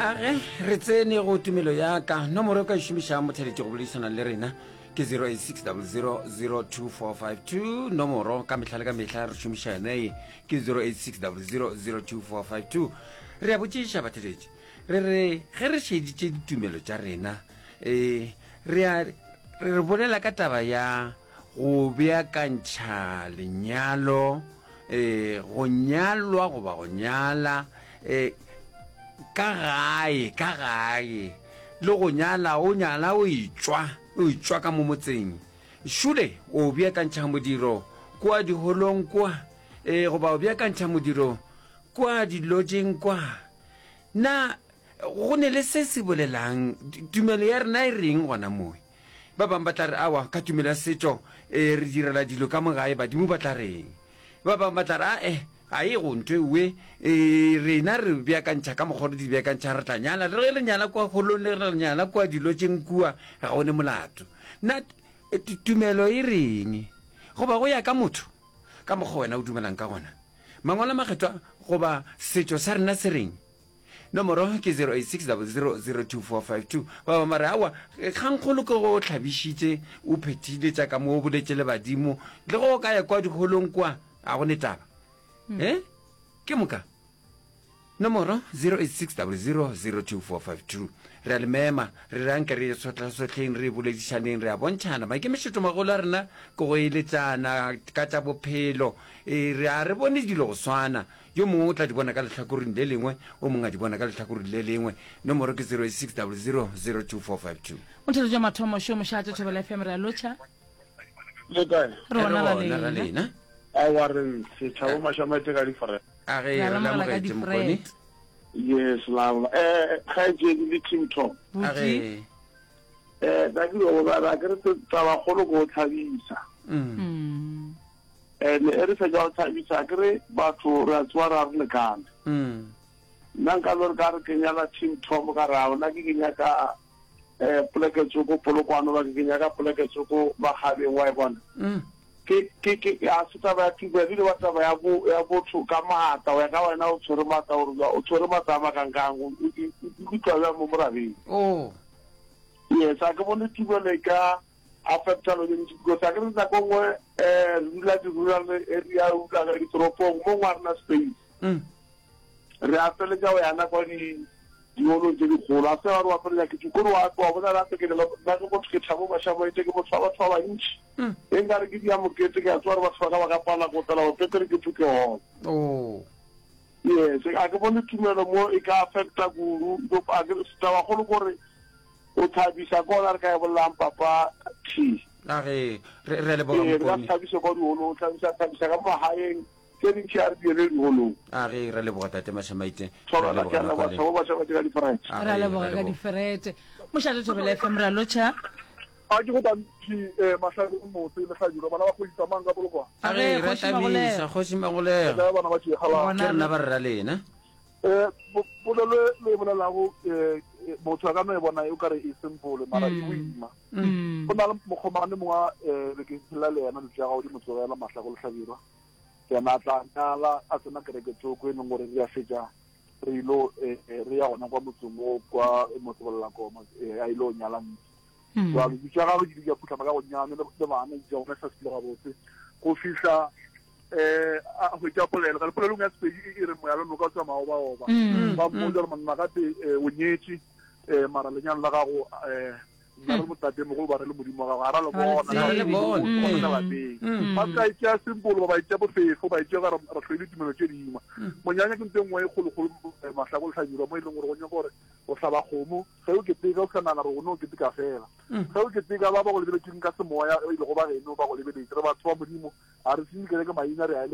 Age re tsene go tumelo ya ka. Nomoro e ka e šomišang motheletši go boledišana le rena ke 0860002452. Nomoro ka mehla le ka mehla re šomiša yona ye ke 0860002452. Re a botšiša batheletši re re ge re šeditše ditumelo tša rena e re a re bolela ka taba ya go beakantšha lenyalo, e, go nyalwa goba go nyala, e, ka gae, ka gae, le go nyala, o nyala o etšwa, o etšwa ka mo motseng. Šule o beakantšha modiro kua diholong kua, e, goba o beakantšha modiro kua dilotšeng kwa. Na go ne le se se bolelang? Tumelo ya rena e reng gona mowe? Ba bangwe ba tla re, Aowa, ka tumelo ya setšo, e, re direla dilo ka mo gae, badimo ba tla reng? Ba bangwe ba tla re, Ae, ga e go ntho ewe, e, rena re beakantšha ka mokgwa re di beakantšha, re tla nyala, le ge re nyala kua holong, le ge re nyala kua dilotšeng kua, ga go ne molato. Na tumelo e reng? Goba go ya ka motho, ka mokgwa wena o dumelang ka gona? Mangwalo a Makgethwa goba setšo sa rena se reng? Nomoro ke 0860002452. Ba bangwe ba re, Aowa, kgangkgolo ke go o hlabišitše, o phethile tša ka mo, o boletše le badimo. Le ge o ka ya kua diholong kua, ga go ne taba. E? Ke moka. Nomoro 0860002452. Re a le mema, re re anke re sohlasohleng, re boledišaneng, re a bontšhana. Maikemišetšomagolo a rena ke go eletšana ka tša bophelo. E, re a re bone dilo go swana. Yo mongwe o tla di bona ka lehlakoreng le lengwe, o mongwe a di bona ka lehlakoreng le lengwe. Nomoro ke 0860002452. Motheletši wa mathomo šo mošate Thobela FM re a lotšha. Le kae? Re gona ra lena. lena. Aowa re ntshe Thabo Mašamaite ka difrete. A ge re le amogetše Mokone. Yes, la eh kgaetšedi le team top. A ge eh ba ke go ba ke re taba kgolo go thabisa. Mm. And e re fetša go thabisa ke re batho re a tsoa ra re lekane. Nna nka no re ka re ke nyala team Tom ka re ao nna ke ke nyaka um poleke tsoko Polokwane goba ke ke nyaka poleke tsoko Makgabeng wa e bona. Ke ke ke a se taba ya tumelo ebile ba taba ya bo ya botho ka maatla go ya ka wena o tshwere maatla gore o tshwere maatla a makangkang o ikutlwa bjang mo morabeng. Oh. Yes, a ke bone tumelo e ka affecta lo dintsi because a ke re nako nngwe um re dula di-rural area re dula ka ditoropong mo ngwe a rena space mm. re a feletša go yana kwa diholong tse dikgolo a se ba re wa feletša ke kore wa wa bona gape ke nna ke motho ke thabo mašamaite ke motho wa batho ba bantši mm. e nkare ke dia mokete ke a tsewa gore batho ba ka ba ka pala go tlela go petere ke phuke holo oh. yes a ke bone tumelo mo e ka affecta kudu tabakgolo kore O thabisa ke ona re ka e bolelang papa T. A re re re leboga Ee, re ka Mokone. se thabise kwa diholong, o thabisa thabisa ka mo magaeng, tse dintši a re di ele diholong. A re re leboga tate Mashamaite. Re Thobela leboga ke a nako leboga le. Thabo Mashamaite ka diferete. A Re a re re leboga ka leboga. diferete. Mošate Thobela FM re a lotšha. A ke go tantši eh, Mahlabelo Motse le Hlabirwa bana ba kgoši tsamayang ka Polokwane. A A re re re kgoši tamiša Magolego. kgoši Re Magolego. kae bana ba tšegalang? Ke Gona rena re ba re ra lena. Eh, polelo e le e bolelago eh, eh, motho a ka no e bona e o kare e simple mara e boima. Go na le mokgomane mongwe eh, be ke phela le yena dilo tša gago di mo tsogela mahlako lehlabirwa. Yena a tla nyala a tsena kereke tsoko e leng gore re a fetša re ilo eh, re ya gona kwa motseng o kwa motsebolelakoma eh, a ilo nyala ntsi. Jwale dilo tša gagwe di ile di a phuhlama ka gonyane le bana di tša gona sa sepele gabotse go fihla eh a hwetša polelo ka polelong ya Sepedi e re moya le noka o tsamaya oba oba mm. ba mmotsa gore monna gape eh, o nyetše eh mara lenyalo la gago eh nna re motate mogolo ba re le modimo wa gago ga ra le bona mm. ka lapeng mm. ba ka itšea sempolo ba ba itšea bofefo ba itšea gore re hloile tumelo tše dingwe monyanya ke ntho e nngwe e kgolokgolo eh, mahlako le hlabirwa mo e leng gore go nyaka gore o hlaba kgomo ge o keteka o sa nagana gore o ne o keteka fela ge o keteka ba ba go lebeletseng ka semoya e lego ba geno ba go lebeletše re batho ba modimo A re senye kereke maina, re a ele.